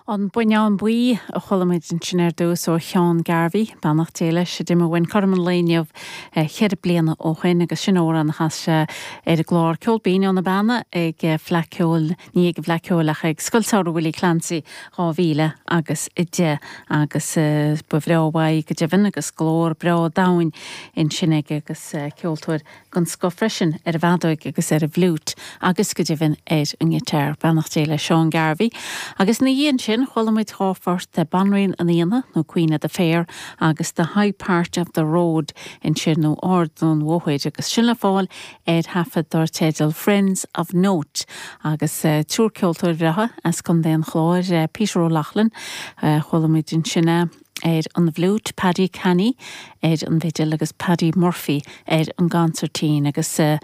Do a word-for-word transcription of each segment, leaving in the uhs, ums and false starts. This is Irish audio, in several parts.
An Buinneán Buí a chuala muid ansin ar dtús ó Sheán Garvey, beannacht Dé leis, a d'imigh uainn cothrom an lae inniu ceithre bliana ó shin agus sin amhrán a chas sé ar an gclár Ceol Binn ó na Beanna ag Fleadh Ceoil, ní ag an bhFleadh Ceoil ach ag Scoil Samhraidh Willie Clancy dhá mhíle agus a deich agus ba bhreá uaidh go deimhin agus glór breá domhain ansin aige agus ceoltóir den scoth freisin ar an bhfeadóig agus ar an bhfliúit agus go deimhin ar an ngiotár. Beannacht Dé le Seán Garvey. Agus ina dhiaidh sin chuala muid dhá phort de Banríon an Aonaigh nó Queen of the Fair agus The High Part of the Road ansin nó Ard an Bhóthair agus sin le fáil ar thaifead dar teideal Friends of Note agus uh, triúr ceoltóir bhreátha as Contae an Chláir uh, Peter O'Loughlin uh, chuala muid ansin uh, ar an bhfliúit Paddy Canny ar an bhfidil agus Paddy Murphy ar an gconsairtín agus uh,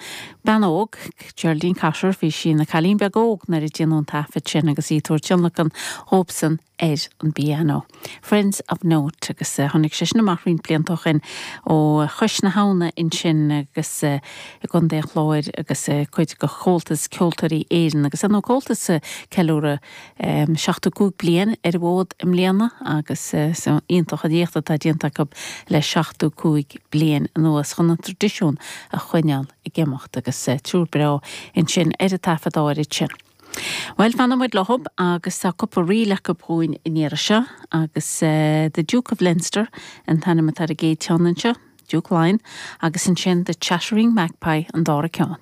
bean óg Geraldine Cotter bhí sí ina cailín beag óg nuair a déanadh an taifead sin agus í ag tabhairt tionlacan dhóibhsean ar an bpianó. Friends of Note agus uh, tháinig sé sin amach roinnt blianta ó shin ó Chois na hAbhna ansin agus uh, i gContae an Chláir agus uh, cuid de Chomhaltas Ceoltóirí Éireann agus an Comhaltas uh, ceiliúradh um, seachtó cúig bliain ar an bhfód i mbliana agus uh, so iontach an éacht atá déanta acu le seachtó cúig bliain anuas chun an traidisiún a choinneáil ag imeacht agus uh, triúr breá ansin ar an taifead áirid sin. Well fanfaidh muid leo agus tá cúpla ríl acu dhúinn an iarraidh seo agus uh, The Duke of Leinster an t-ainm atá ar an gcéad cheann anseo, Duke Line, agus ansin The Chattering Magpie an dara ceann.